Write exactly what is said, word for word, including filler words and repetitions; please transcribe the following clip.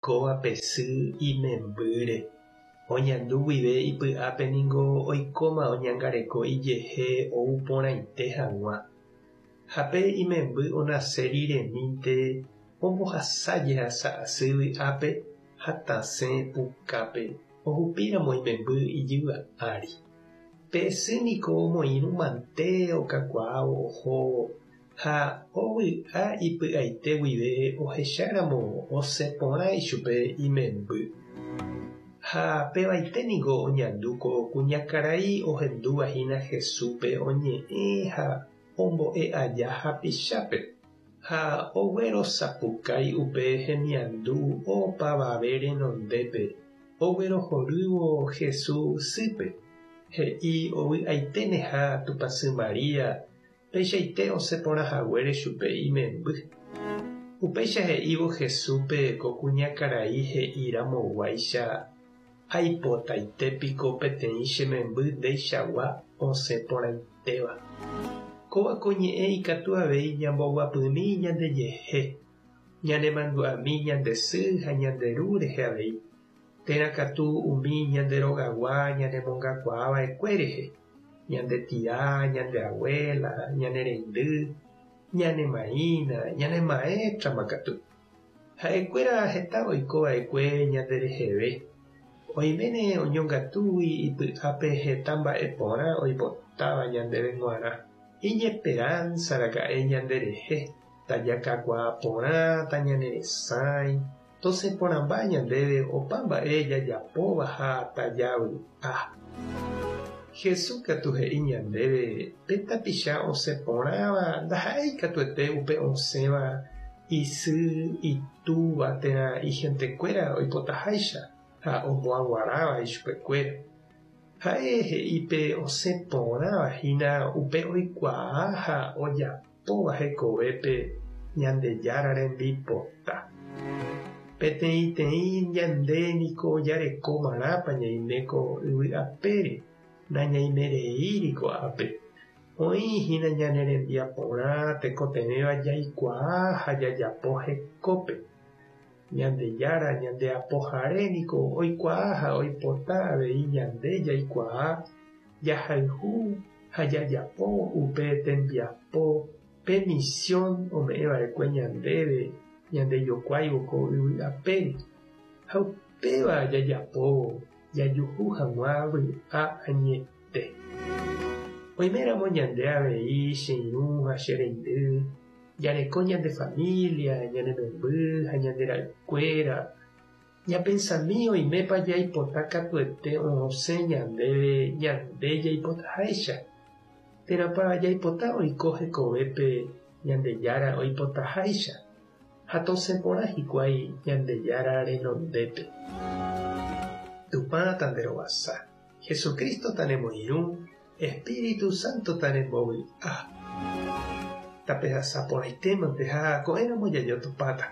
Kóva pe sy imembýre. Oñandu guive ipy'ápe niko oikóma oñangareko ijehe ouporãite hag̃ua. Ha pe imemby onase riremínte ombohasa jehasa asy vy'ápe ha tasẽ pukápe ohupíramo imemby ijyva ári. Pe sy niko omoirũmante okakuaávo ohóvo ha ovy'a ipy'aite guive ohecháramo osẽporã ichupe imemby. Ha pevaite niko oñandu ko kuñakarai ohenduvahína Jesúspe oñe'ẽ ha ombo'e aja hapichápe ha oguerosapukái upe hemiandu opavave renondépe oguerohorývo Jesús sýpe. He'i ovy'aiténeha Tupãsy Maria peichaite osẽporãhaguére chupe imemby. Upéicha he'ívo Jesúspe ko kuñakarai he'iramoguáicha aipotaitépiko peteĩ che memby ndeichagua osẽporãitéva. Kóva ko ñe'ẽ ikatu avei ñamboguapymi ñandejehe, ñanemandu'ami ñande sy ha ñande ru rehe avei, térã katu umi ñande rogagua ñanemongakuaava'ekue rehe, ñande tia, ñande abuela, ñane reindy, ñane maína, ñane maéstrama katu. Ha'ekuéra heta oikova'ekue ñandereheve. Oiméne oñongatúgui ipy'ápe heta mba'e porã oipotáva ñandéve g̃uarã. Iñesperanza raka'e ñanderehe, tajakakuaa porã, tañaneresãi, tosẽporãmba ñandéve opa mba'e jajapóva ha tajavy'a. Jesús katu he'i ñandéve pe tapicha osẽporãva ndaha'éi katuete upe osẽva isy, itúva térã ihentekuéra oipotaháicha ha omboaguaráva ichupekuéra. Ha'e he'i pe osẽporãvahína upe oikuaa ha ojapóva hekovépe Ñandejára rembipota. Peteĩteĩ ñande niko jareko marãpa ñaime ko yvy apére, nañaimereíri ko'ápe. Oĩhína ñane rembiaporã tekotevẽva jaikuaa ha jajapo hekópe. Ñandejára ñandeapohare niko oikuaa ha oipota avei ñande jaikuaa, jahayhu ha jajapo upe tembiapo pe misión ome'ẽva'ekue ñandéve ñandejokuáivo ko yvy apére. Ha upéva jajapóvo jajuhu hag̃ua vy'a añete. Oiméramo ñande avei che irũ ha che reindy, jareko ñande familia, ñane memby ha ñande ra'ykuéra. Ñapensami oimépa jaipota katuete osẽ ñandéve ñande jaipotaháicha. Térãpa jaipota oiko hekovépe Ñandejára oipotaháicha ha tosẽporã hikuái Ñandejára renondépe. Tupã tanderovasa, Jesucristo tanemoirũ, Espíritu Santo tanembovy'a. Tapehasa porãitémante ha ko'ẽramo jajotopáta.